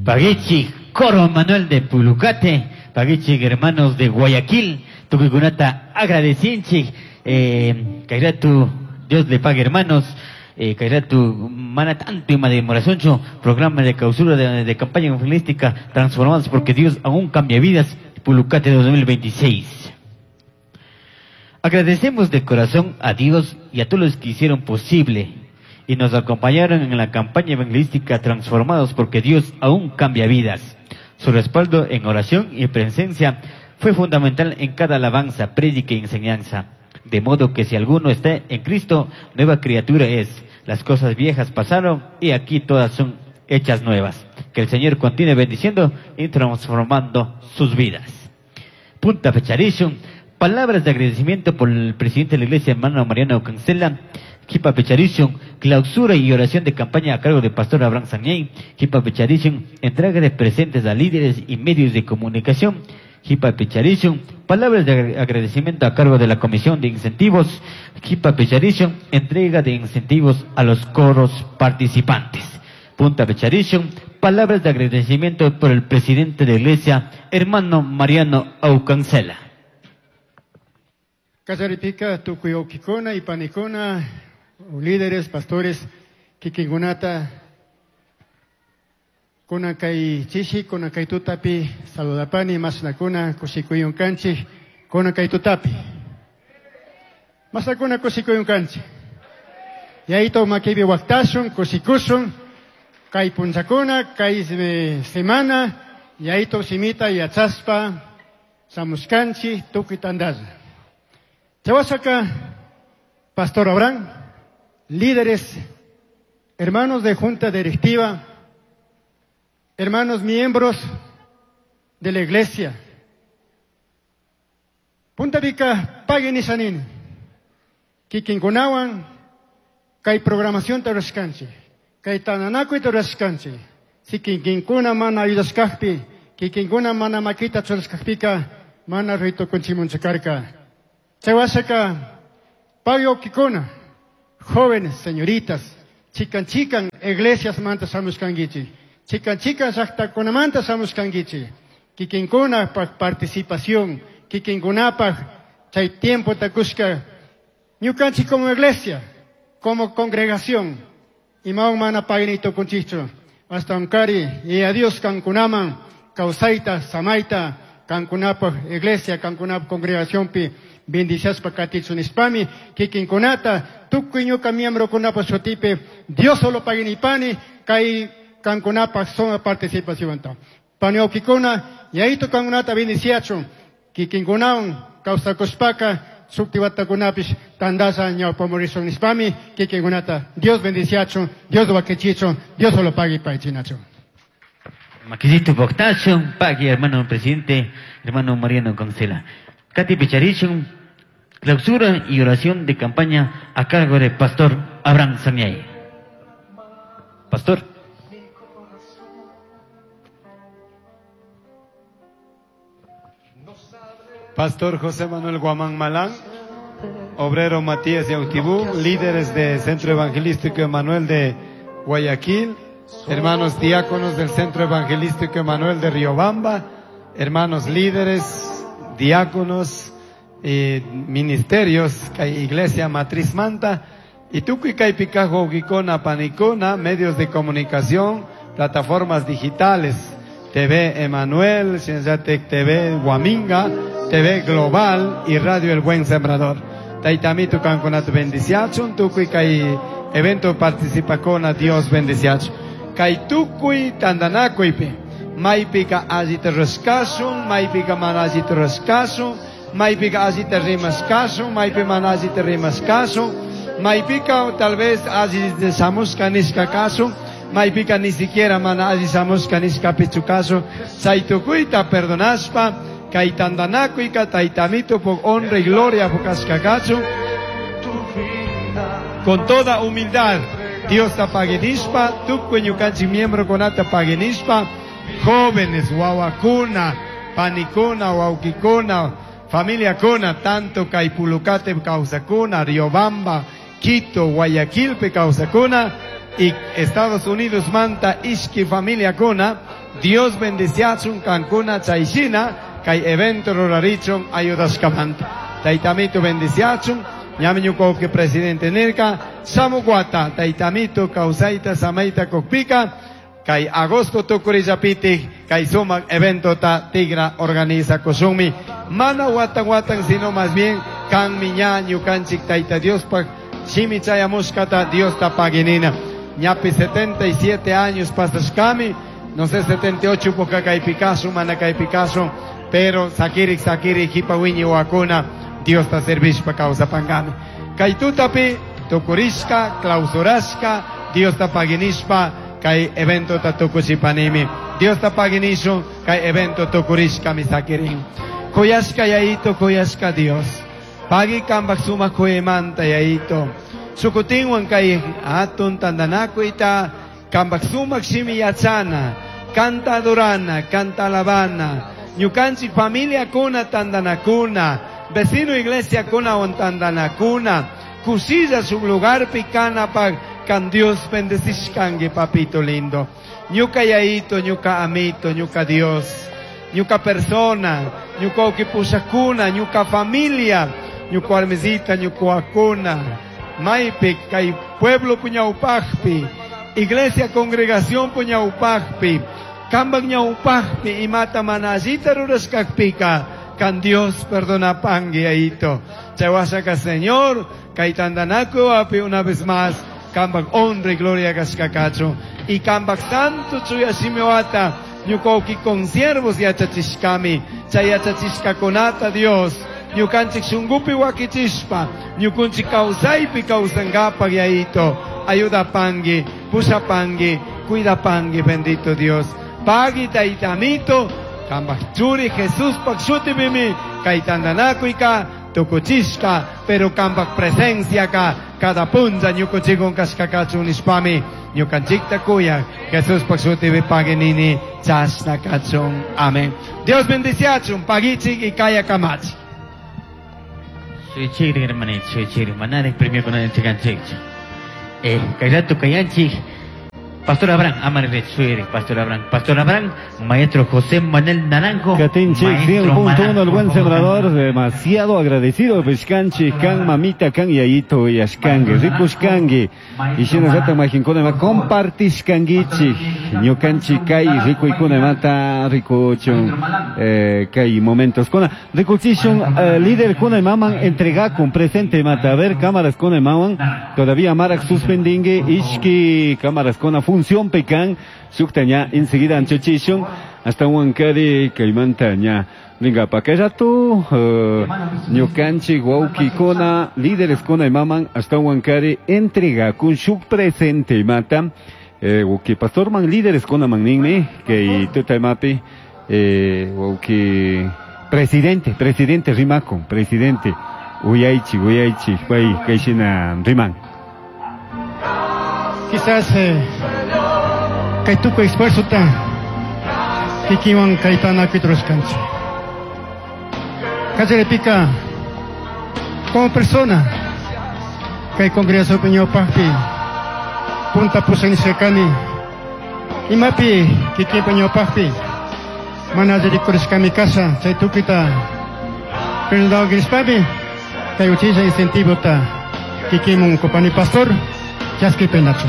Paguichi Coro Manuel de Pulucate, Paguichi hermanos de Guayaquil, tukuykunata agradecinchik, kayratu Dios le pague hermanos, kayratu mana tanto ima demoracioncho, programa de clausura de campaña evangelística transformados porque Dios aún cambia vidas, Pulucate 2026. Agradecemos de corazón a Dios y a todos los que hicieron posible y nos acompañaron en la campaña evangelística Transformados porque Dios aún cambia vidas. Su respaldo en oración y presencia fue fundamental en cada alabanza, prédica y enseñanza. De modo que si alguno está en Cristo, nueva criatura es. Las cosas viejas pasaron y aquí todas son hechas nuevas. Que el Señor continúe bendiciendo y transformando sus vidas. Punta Pecharishun. Palabras de agradecimiento por el presidente de la iglesia, hermano Mariano Cancela. Jipa Pecharishun, clausura y oración de campaña a cargo del pastor Abraham Sañey. Jipa Pecharishun, entrega de presentes a líderes y medios de comunicación. Jipa Pecharishun, palabras de agradecimiento a cargo de la Comisión de Incentivos. Jipa Pecharishun, entrega de incentivos a los coros participantes. Punta Pecharishun, palabras de agradecimiento por el presidente de la iglesia, hermano Mariano Aucancela. Kallaripika tukuy wawkikuna y panikuna, líderes, pastores, kikinkunata, kunan kay chishi, kunan kay tutapi, saludapani, mashnakuna, kushikuyun kanchik, kunan kay tutapi. Mashnakuna kushikuyun kanchik. Yayito makibi waktashun, kushikushun, kay punchakuna, kay semana, yayito simita yachaspa, samuskanchi, tukuy tandalla. Chawasaka, Pastor Abraham, líderes, hermanos de junta directiva, hermanos miembros de la iglesia. Punta Pica, paguen y sanin. Kikinkunawan, kay programación taraskanchi, kay tananakuy taraskanchi. Si kikinkuna mana ayudaskajpi, kikinkuna mana makita churaskajpika, mana rito kunchimunchakarka. Chawasaka, pago kikuna, jóvenes, señoritas, chican chican, iglesias manta samuskangichi, chican chican llaqtakunamanta samuskangichi, kikinkuna pa participación, kikinkunapaj chay tiempo takushka, ñukanchik como iglesia, como congregación, imawan mana paginito kunchichu, hasta unkari, y a Dios kankunaman, kawsayta, samayta, kankunapaj iglesia, kankunapaj congregación pi, bendiciaspa katichu nispami, kikinkunata, tukuy ñuka miembrokunapa shutipi, Dios solo paginipani, kay kankunapaj suma participacionta. Pani wawkikuna, yayito kankunata bendiciachun, kikinkunawan kawsakushpaka, shuktiwatakunapish tandasha ñawpamurishun nispami, kikinkunata Dios bendiciachun, Dios wakichichun, Dios solo pagui paychinachun. Maquisito Boctachun, pagui hermano presidente, hermano Mariano Cancela. Katy Pecharishun, clausura y oración de campaña a cargo del pastor Abraham Samiay. Pastor. Pastor José Manuel Guamán Malán, obrero Matías Yautibú, líderes de Centro Evangelístico Emanuel de Guayaquil, hermanos diáconos del Centro Evangelístico Emanuel de Riobamba, hermanos líderes, diáconos, ministerios, Iglesia Matriz Manta, y tukuy kaypi kaj wawkikuna, panikuna, medios de comunicación, plataformas digitales, TV Emanuel, Cienciatec TV Huaminga, TV Global y Radio El Buen Sembrador. Taytamitu kankunata bendiciachun, tukuy kay evento participakuna Dios bendiciachun. Kay tukuy tandanakuypi, maypika allita rurashkashun, maypika mana allita rurashkashun, maypika allita rimashkashun, maypi mana allita rimashkashun, maypika tal vez alli shamushka nishka kashun, maypika ni siquiera mana alli shamushka nishkapichu kashun, chay tukuyta perdonashpa, kay tandanakuyka taytamito por honra y gloria pukashka kachun, con toda humildad, Dios ta paguinishpa, tukuy ñukanchik miembro kunata paguinishpa, jóvenes, wawakuna, panikuna, wawkikuna, familia kuna, tanto kay Pulucate kawsakuna, Riobamba, Quito, Guayaquil kawsakuna, y Estados Unidos manta ishki familia kuna, Dios bendiciachun kankuna chayshina kay evento rurarichun ayudashkamanta. Taytamito bendiciachun, ñami ñuka presidente nirka, shamuq wata taytamito kawsayta samayta kukpika, kay agosto tukurillapiti kay sumak eventota tigra organiza kushunmi. Mana watan watan sino más bien kanmi ña ñukanchik Tayta Diospaj shimi chayamushkata Diosta paginina. Ñapi 77 años pasashkami, no sé 78 poca kaypi mana kaypi pero sakirik sakirik hipa wiñi wakuna Diosta servishpa kawsapangami. Kay tutapi tukurishka, clausurashka, Diosta paginishpa kay evento ta tukuchipanimi. Diosta paginishun kay evento tukurishka mi sakirin. Kuyashka yayito, kuyashka Dios. Pagi kambak suma kuymanta yayito. Sukutinwan kay atun tandanakuita kambak sumak shimi yachana, kanta adorana, kanta alabana. Ñukanchik familia kuna tandanakuna, vecino iglesia kuna on tandanakuna, kusilla su lugar pikana pag kan Dios bendecishkangi papito lindo. Ñuka yayito, ñuka amito, ñuka Dios, ñuka persona, ñuka ukipushakuna, ñuka familia, ñuka armizita, ñuka akuna, maypi kay pueblo puñawpaqpi, iglesia congregación puñawpaqpi, kambak ñawpaqpi imata mana allita rurashkaqpika, kan Dios perdona pangui ayito. Chaywashaka Señor, kay tandanaku api una vez más, kambak honra y gloria kashkakachu. Y kambak santo chuya shimiwata, ñuka consiervos yachachishkami, chay yachachishkakunata Dios, ñukanchik shungupi wakichishpa, ñukunchik kawsaypi kawsankapaq yayito, ayuda pangui, pusha pangui, cuida pangui, bendito Dios. Pagui taytamito, kambak churi Jesús pak shutipimi, kay tandanakuyka, tukuchishka, pero kambak presencia ka, cada punza ñukunchikun kashkakachun nishpami, ñukanchikta kuyak, Jesús pak shutipi paginini, chashna kachun. Amén. Dios bendiciachun, pagichik y kaya kamachi. Soy chigre, hermanito, soy chigre, manare, premio con el chicanchik. Kayato kayanchik. Pastor Abraham, amarre, soy Pastor Abraham. Pastor Abraham, maestro José Manuel Naranjo. Katinchik, maestro 100.1, el buen Naranjo. sembrador, demasiado agradecido, Pescanchi, kan mamita, kan yayito, yashkangue, rikushkangue. Y si nos ata majinkuna ma compartishkanguichi, ñukanchi kay rikuykuna mata rikuchun, kay momentos kuna. Rikuchishun, líder kuna maman entregakun presente mata, a ver, cámaras kuna maman, todavía marak suspendingue, ishki cámaras kuna función pecan, sukta ña, enseguida anchochishun, hasta huancari kaymanta ña. Venga, pa que rato, ñukanchi, wauki kuna, líderes kuna y maman, hasta huancari entrega con su presente mata, wauki pastor man líderes kuna man ninmi, que tuta mapi, wauki presidente, presidente rimakun, presidente, uyaichi, uyaichi, pai, kaishina riman. Quizás, kay tukuy esfuerzo ta, kikiwan kaytana kuitruskanchi. Kallaripika, como persona, kay congregación ñawpaqpi, punta pusanishkani, imapi kikinpa ñawpaqpi, mana alli rikurishkami kasha, chay tukuyta perdonawakishpami, kay uchilla incentivota kikinmun kupani pastor, chaskipenachu.